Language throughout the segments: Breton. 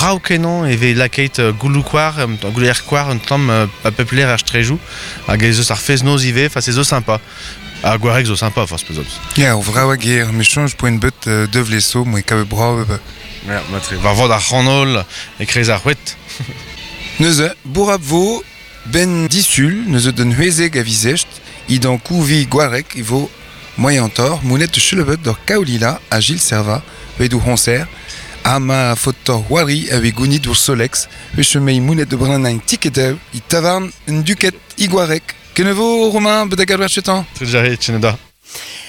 Brav kenañ e vez lakaet gouloù koar, gouleier koar un tamm a pep lec'h er straejoù. Hag ez eus ar fest-noz ivez, enfin se zo sympa. Ha Gwareg zo sympa forzh peseurt. Ya, ur vrav a gêr, me soñj poent bet devleso, moe kavet brav. Ya, matre. War vord ar c'hanol, e-kreiz ar c'hoed. Neuze, bourrapl vo ben disul, neuze d'un c'hwezek a viz echt, idan kouvi Gwareg e vo moaientoc'h monet chelevet d'ur Kaolila ha Gilles Servat, bet o c'hoñser, ha ma faotoc'h c'hoari a vez gounit ouzh Solex, e chomei monet da brenañ tikedoù e tavarn un duked e Gwareg. Kenavo Romain, bet da gavet chetañ. Trejare, tcheneda.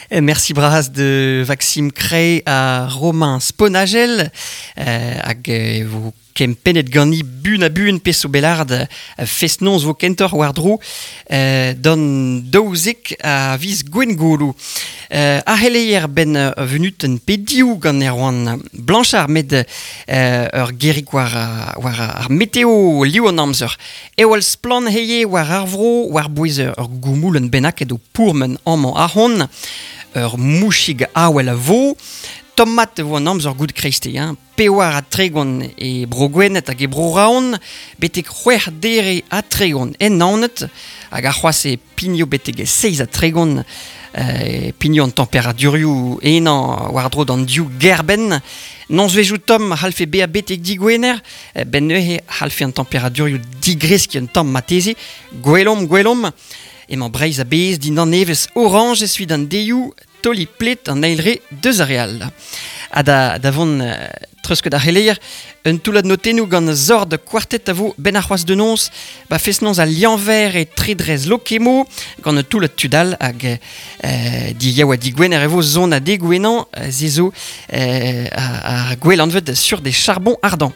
Merci bras de Maxime Crey ha Romain Sponagel hag e vo kempennet gani bun a bun peso belard fest-noz vo kentoc'h war-dro d'an 12 a viz Gwengolo. Ar c'heleier ben venutenn pe div gant Erwan Blanchard met ur gerig war, war ar meteo liv an amzer. Eo al splann heie war ar vro war-bouez ur goumoulenn bennaket o pourmen amañ ahont. Ur mouchig awel a vo. Tomat e vo an amzer goud kreisteiz, hein. 34 e Bro-Gwened hag e Bro-Raon, betek c'hwec'h dere ha 30 en Naoned, hag ar c'hoazh e pigno betek 37 e pigno an temperadurioù enañ war-dro d'an div gêrbenn. Nozvezhioù tomm a c'hallfe bezañ betek digwener, benn neuze c'hallfe an temperadurioù digreskiñ un tamm marteze. Gwelomp, gwelomp. Emañ Breizh a-bezh dindan evezh orañjez evit an deioù taoliñ pled an eil re deus ar re all. Ha da, da vont treuzket ar c'heleier, un toullad notennoù gant Zord Quartet a vo benn ar c'hoazh de noz, ba fest-noz al Lianver e Tredrez Lokemo, gant un toullad tud all hag euh, diyaou ha digwener e vo zon ha degouenañ, se zo euh, ar gwell anvet sur des charbons ardents.